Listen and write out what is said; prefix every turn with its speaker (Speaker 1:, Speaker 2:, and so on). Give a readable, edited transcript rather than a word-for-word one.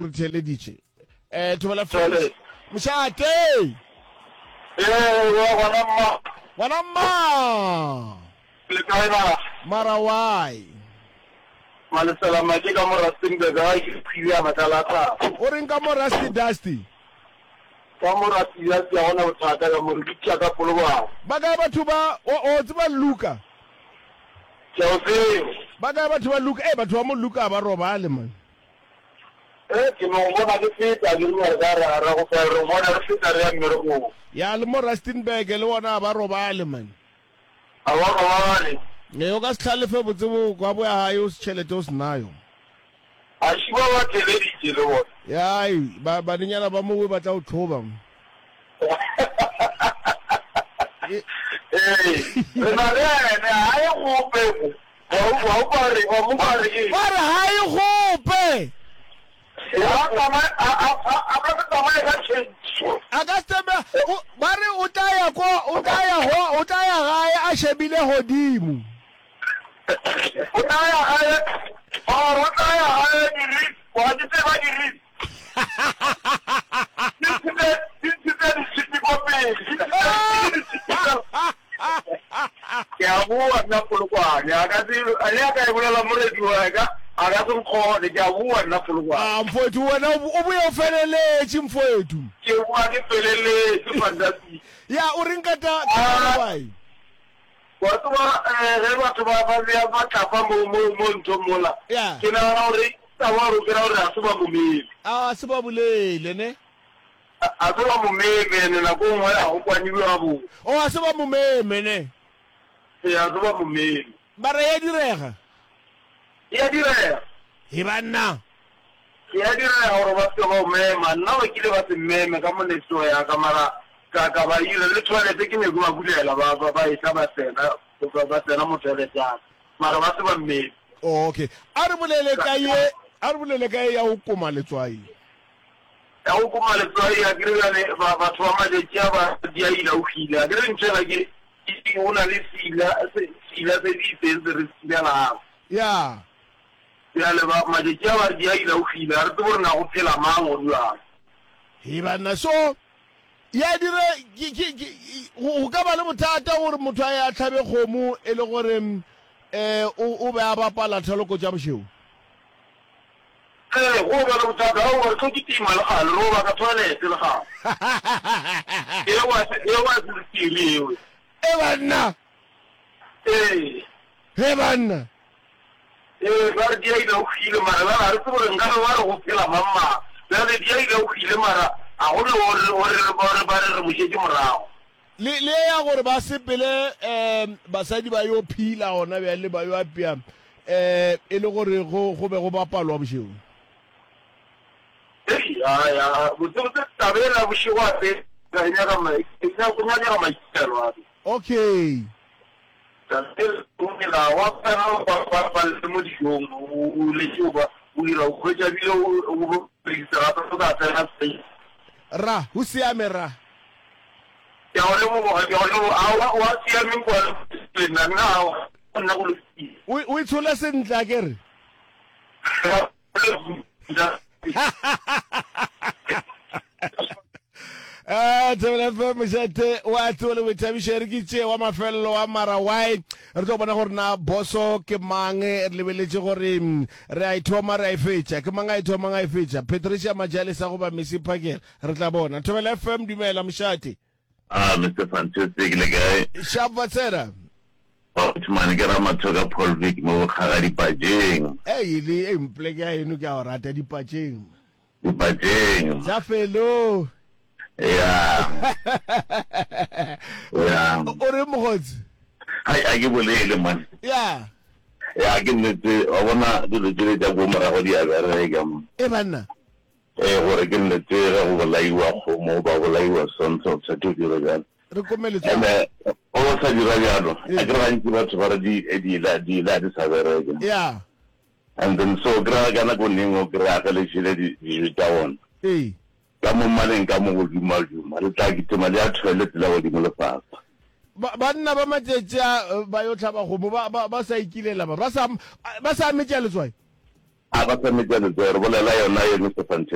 Speaker 1: Re theeleditše. Eh, Thobela Fresh. Mošate!
Speaker 2: Ee, wa gona mma.
Speaker 1: Gona mma!
Speaker 2: Le kae na?
Speaker 1: Mara why?
Speaker 2: Malesela make ka mo Rustenburg ga ke phile ya matlala a thaba.
Speaker 1: O reng ka mo Rusty Dusty?
Speaker 2: Ka mo Rusty Dusty ga gona bothata ka mo re bitša ka Polokwane.
Speaker 1: Ba kae batho ba o o tseba Luka?
Speaker 2: Ke a o tseba.
Speaker 1: Ba kae batho ba Luka? Eh batho ba mo Luka ba robale man.
Speaker 2: Eh, ke no go bona ke feta, ke rile re ka ra ra go fela re bona re feta re ya mmerekong.
Speaker 1: Ya le mo Rustenburg le bona ga ba robale man.
Speaker 2: Ga ba robale.
Speaker 1: Ee, o ka se hlalefe botse bo kwa boya gae o se tšhelete o se nayo.
Speaker 2: A ši ba ba theleditše le bona.
Speaker 1: Ya, ei, ba banenyana ba mowe ba tla o tlhoba.
Speaker 2: Ee, re na le ene, ga e gope.
Speaker 1: Ba re ga e gope. A ka se tsamaye, ba re o tla ya ko, o tla ya go, o tla ya gae a shebile godimo.
Speaker 2: O tla ya gae, or o tla ya gae diri, wa di tseba diri. Di ntshitse, di ntshitse ditshipi ko pele. Di ntshitse Ke a boa nna Polokwane, a ka se, le a ka e bolela mo radio a ka, a ka se nkgone, ke a boa nna Polokwane.
Speaker 1: Ah, mfowethu, wena o boya o feleletše, mfowethu.
Speaker 2: Ke boa ke feleletše, fantastic.
Speaker 1: Ya, o reng ka ta, ka ah, why?
Speaker 2: Wa tseba, eh, ge batho ba ba bea matlapa mo mo mo nthong mola,
Speaker 1: Ya.
Speaker 2: ke nagana gore taba gore o kry-a gore ga se ba mo meme.
Speaker 1: A se ba bolele, ne?
Speaker 2: A se ba mo meme, ene nako e nngwe ga go kwaniwe gabotse.
Speaker 1: O, a se ba mo meme, ne?
Speaker 2: Ee, a se ba mo meme.
Speaker 1: Mara ya direga.
Speaker 2: E a direga.
Speaker 1: He banna!
Speaker 2: E a direga gore ba se ke ba o mema. Nna ba kile ba se mmeme ka mo next door ya ka, mara ka, ka ba ira. Le toilet ke nyako ba bulela, ba, ba, ba etla ba tsena, ba, ba tsena mo toilet ya ka, mara ba se ba mmeme.
Speaker 1: Okay. A re bolele ka ye, a re bolele ka ye ya go koma letswai.
Speaker 2: Ya go koma letswai, akere bjale ba, batho ba matšatši a ba di a ila o hile. Akere ntho ela ke, ke, go na le seila, se, seila se se itseng se re se silelago.
Speaker 1: Ya.
Speaker 2: Bjale ba, matšatši a ba re di a ila o hile, ga re tsebe gore na go phela mang or bjang.
Speaker 1: He banna, so ya dire, ke, ke, ke, go, go ka ba le bothata gore motho a ye a hlabe kgomo e le gore um o, o be a bapala thaloko tša bošego.
Speaker 2: Ee, go ba le bothata. Aowa, re tlo kitima le gale, re o baka toilet le gale. Eo a se, eo a se sephiri eo.
Speaker 1: E banna!
Speaker 2: Ee.
Speaker 1: He banna!
Speaker 2: Ee, ba re Diaila o hwile, mara bjale ga re tsebe gore nkabe ba re go phela mang mang. Bjale Diaila o hwile, mara ga go ne gore, gore, gore ba re re mo šetše morago.
Speaker 1: Le, le ya gore ba sepele um basadi ba yo phila gona bjale ba yo apea um e le gore go, go be go bapalwa bošego.
Speaker 2: Hei, a, ya, botsebotse taba ela ya bošego a se, e nyaka ma, e nyaka, go nyakega maikelo a.
Speaker 1: Okay.
Speaker 2: Taba ela, o mela, wa tsena ba, ba, ba le mo dijong, o, o letše o ba, o dira, o hwetša bile o, o bo rekisa gape o sa tsena space.
Speaker 1: Ra, go siame ra.
Speaker 2: Ke a go leboga, ke a go leboga. Aowa, o a siame kwa le nna, nna aowa, nna go lokile.
Speaker 1: O, o itshole sentle, a ke re? Ah, Thobela FM mošate wa tsebo le boithabišo e re ke tšee wa mafelelo wa mara why re tlo bona gore na boso ke mang re lebeletše gore mm, re a ithoma re a e fetša ke mang a ithomang a e fetša Patricia Majalesa goba Missy Phakela Re tla bona. Thobela FM, dumela mošate.
Speaker 3: Ah, Mister Fantastic, le kae?
Speaker 1: Sharp wa tsena.
Speaker 3: Batho ke Ramathoka Paul Vick mo Bokgaga Dipatšeng.
Speaker 1: Ei, le ei mpleke ya eno ke a o rata Dipatšeng.
Speaker 3: Dipatšeng.
Speaker 1: Tša felo.
Speaker 3: Ya. Ya.
Speaker 1: O re mogotsi?
Speaker 3: Hai, a ke bolele man.
Speaker 1: Ya.
Speaker 3: Ya ke nnete, wa bona dilo tšele tša ko morago di a bereka man.
Speaker 1: E banna.
Speaker 3: Ee, gore ke nnete ge go bolaiwa kgomo ba bolaiwa sonto o tshwanetse o dire bjalo.
Speaker 1: Re kome letswalo.
Speaker 3: Ene o sa dira bjalo, a ke re gantsi batho ba re di diila diila di sa bereke.
Speaker 1: Yeah.
Speaker 3: And then so o kry-a ka nako nengwe o kry-a ge le jele dijo tša bona.
Speaker 1: Ee.
Speaker 3: Ka mo maleng ka mo go duma-duma, le tla kitima le ya toilet le godimo le fase.
Speaker 1: Ba, banna ba matšatši a ba yo hlaba kgomo ba, ba, ba sa ikilela ba, ba sa, ba sa metša letswai.
Speaker 3: A ba sa metša letsogo, re bolela yona ye Mister Fantastic.